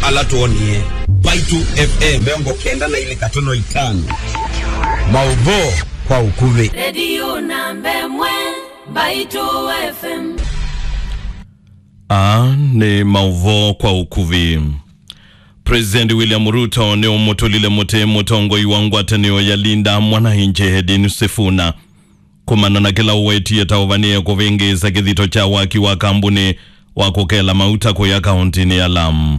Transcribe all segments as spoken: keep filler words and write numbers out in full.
Ala twonie Mbaitu F M mĩongo kenda na ilĩ katono itano. Maũvoo kwa ũkuvĩ. Redio namba ĩmwe, Mbaitu F M. Aa nĩ maũvoo kwa ũkuvĩ. President William Ruto nĩũmũtũlile mũtĩ mũtongoi wa ngwatanĩo ya Linda Mwananchi Edwin Sifuna kumana na kĩla ũwetie ta ũvanĩe kũvĩngĩĩsa kĩthito kya waki wa kambuni wa kũkela mauta kũya kaũntĩnĩ ya Lamu.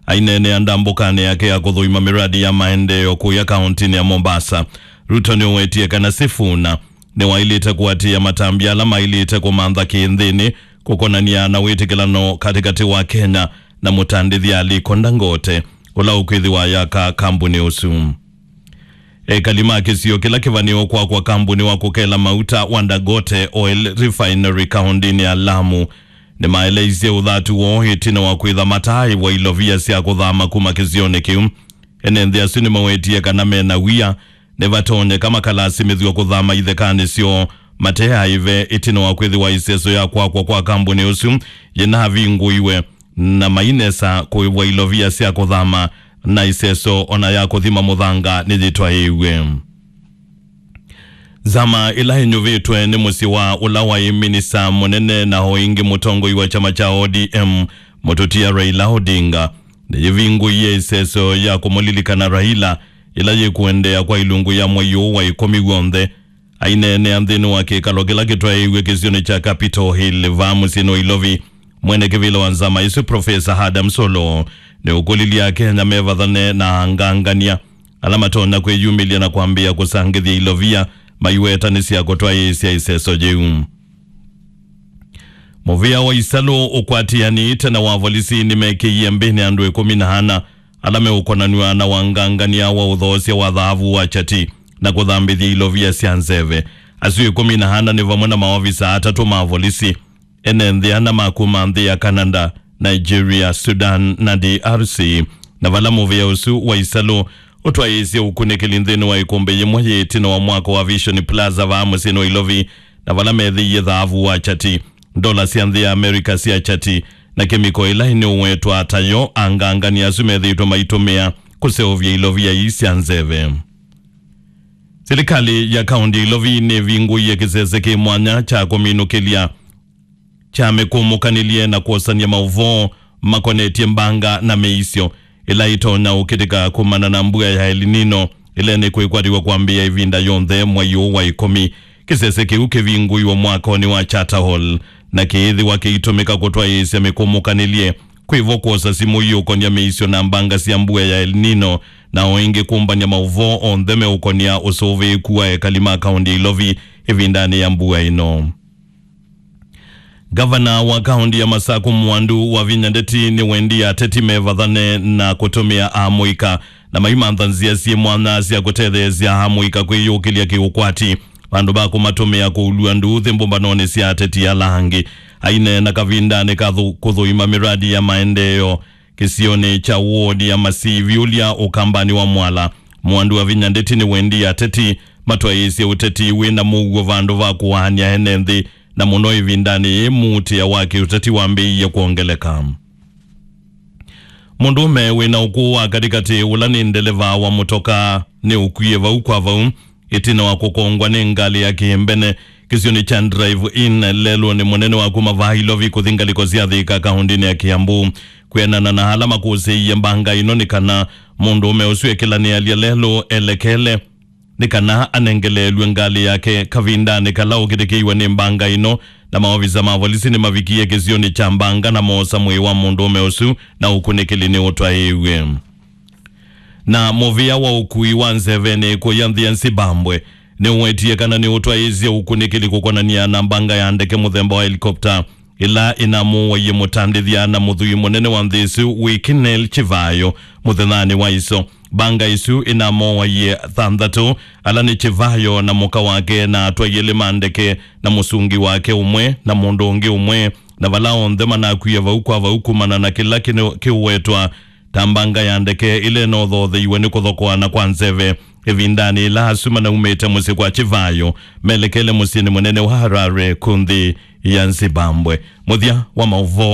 Aineenea ndambũkanĩ yake ya kũthũima mĩradi ya maendeeo kũya kaũntĩnĩ ya Mombasa, Ruto nĩũwetie kana Sifuna nĩwaĩlĩte kũatĩĩa matambya ala maĩlĩte kũmantha kĩ nthĩnĩ kũkonanĩa na wĩtĩkĩlano katĩkatĩ wa Kenya na mũtandĩthya Aliko Dangote, ũla ũkwĩthĩwa ayaka kambuni ũsu. Ekali ma kĩsio kĩla kĩvanĩo kwakwa kambuni wa kũkela mauta wa Dangote Oil Refinery kaũntĩnĩ ya Lamu nĩmaeleisye ũthatu woo ĩtina wa kwĩtha mataaĩvwa ilovia sya kũthama kuma kĩsionĩ kĩu. Ene nthĩ asu nĩmawetie kana mena wia nĩvatonyeka makalasimĩthw'a kũthama ithekanĩ syoo mate aĩve ĩtina wa kwĩthĩwa ĩseso ya kwakwa kwa kambuni ũsu yĩnavingũiwe, na mainesa kũĩvwa ilovia sya kũthama, na ĩseso ona ya kũthima mũthanga nĩyĩtwaĩĩw'e. Nzama ĩla ĩnyuvĩtwe nĩ mũsyĩ wa ũla waĩ minista mũnene na o ĩngĩ mũtongoi wa kyama kya O D M, mũtũtia Raila Odinga, nĩyĩvingũie ĩseso ya kũmũlilikana Raila, ĩla yĩkũendeea kwa ilungu ya mwei ũũ wa ĩkũmi w'onthe. Aineenea nthĩnĩ wa kĩkalo kĩla kĩtwaĩĩw'e kĩsionĩ kya Capitol Hill vaa mũsyĩnĩ wa Ilovi, mwene kĩvĩla wa nzama ĩsu, Profesa Adams Oloo, nĩũkũlilye Akenya mevathane na angangania ala matonya kwĩyumĩlya na kwambĩĩa kũsangĩthya ilovia maiweta nĩ sya kũtwaĩĩsya ĩseso yĩu. Mũvĩa wa isalũ ũkwatĩanĩte na wa volisi nĩmekĩie mbĩnĩ andũ ĩkũmi na ana ala meũkonanw'a na wangangania wa ũthoosya wa thaavu wa kyati na kũthambĩthya ilovia sya nzeve. Asu ĩkũmi na ana nĩ vamwe na maovisa atatũ ma volisi, ene nthĩ ana ma kuma nthĩ ya Canada, Nigeria, Sudan, na D R C. Na vala mũvĩa ũsu wa isalũ ũtwaĩĩsye ũkunĩkĩli nthĩnĩ wa ĩkũmbĩ yĩmwe yĩ ĩtina wa mwako wa Vision Plaza vaa mũsyĩnĩ wa Ilovi, na vala methĩie thaavu wa kyati, ndola sya nthĩ ya America sya kyati, na kemiko ĩla ĩnĩũwetwa ta yo, angangani asu methĩĩtwe maitũmĩa kũseũvya ilovia ii sya nzeve. Silikalĩ ya kaũnti ya Ilovi nĩvingũie kĩsese kĩ mwanya kya kũminũkĩlya kya mĩkũmũkanĩlye na kwosany'a maũvoo makonetye mbanga na mĩisyo ĩla ĩtonya ũkĩtĩka kumana na mbua ya El Nino ĩla nĩkwĩkwatĩw'a kwambĩĩa ĩvinda yonthe mwei ũũ wa ĩkũmi. Kĩsese kĩu kĩvingũiwe mwakonĩ wa Charter Hall na kĩĩthĩwa kĩitũmĩka kũtwaĩĩsya mĩkũmũkanĩlye, kwĩvo kwosa simũ iũkon'ya mĩisyo na mbanga sya mbua ya El Nino, na o ĩngĩ kũmbany'a maũvoo onthe meũkon'ya ũsũvĩĩku wa ekali ma kaũnti ya Ilovi ĩvindanĩ ya mbua ĩno. Ngavana wa kaũnti ya Masaku Mwandu Wavinya Ndeti nĩwendie ateti mevathane na kũtũmĩa amũika na maimantha nzĩa syĩ mwanya sya kũtetheesya amũika kwĩyũkĩlya kĩũkwati vandũ va kũmatũmĩa kũulw'a nduuthĩ mbũmbanonĩ sya ateti ala angĩ. Aineena kavindanĩ ka thũ- kũthũima mĩradi ya maendeeo kĩsionĩ kya wodi ya Masivi ũlya ũkambanĩ wa Mwala, Mwandu Wavinya Ndeti nĩwendie ateti matwaĩĩsye ũteti wĩ na mũuo vandũ va kũaany'a ene nthĩ, na mũno ĩvindanĩ yĩĩ muutĩa wa kĩũteti wambĩĩie kwongeleka. Mũndũũme wĩ na ũkũũ wa katĩkatĩ, ũla nĩ ndeleva wa mũtoka, nĩũkwie vau kwa vau ĩtina wa kũkongwa nĩ ngalĩ ya kĩmbene kĩsionĩ kya Drive In lelũnĩ mũnene wa kuma vaa Ilovi kũthi ngalĩko sya Thika kaũntinĩ ya Kiambu. Kwĩanana na ala makũsĩĩie mbanga ĩno, nĩ kana mũndũũme ũsu ekĩlanĩalya lelũ elekele nĩ kana anengeleelw'e ngalĩ yake kavindanĩ kala ũkĩtĩkĩiwe nĩ mbanga ĩno, na maovisa ma volisi nĩmavikie kĩsionĩ kya mbanga na moosa mwĩĩ wa mũndũũme ũsu na ũkunĩkĩli nĩũtwaĩĩw'e. Na mũvĩa wa ũkui wa nzevenĩ kũya nthĩ ya Zimbabwe nĩũwetie kana nĩũtwaĩĩsye ũkunĩkĩli kũkonania na mbanga ya ndeke mũthemba wa helikopta ĩla ĩnamũwaie mũtandĩthya na mũthwii mũnene wa nthĩ ĩsu Wikinel Chivayo mũthenyanĩ wa iso. Mbanga ĩsu ĩnamowaie thanthatũ, ala nĩ Chivayo na mũka wake na atwai elĩ ma ndeke na mũsungi wake ũmwe na mũndũ ũngĩ ũmwe, na vala onthe manakwie vau kwa vau kumana na kĩla kĩno- kĩũwetwa ta mbanga ya ndeke ĩla ĩnothootheiwe nĩ kũthokoana kwa nzeve ĩvindanĩ ĩla asu manaumĩte mũsyĩ kwa Chivayo melekele mũsyĩnĩ mũnene wa Harare kũnthĩ ya Zimbabwe. Mũthya wa maũvoo.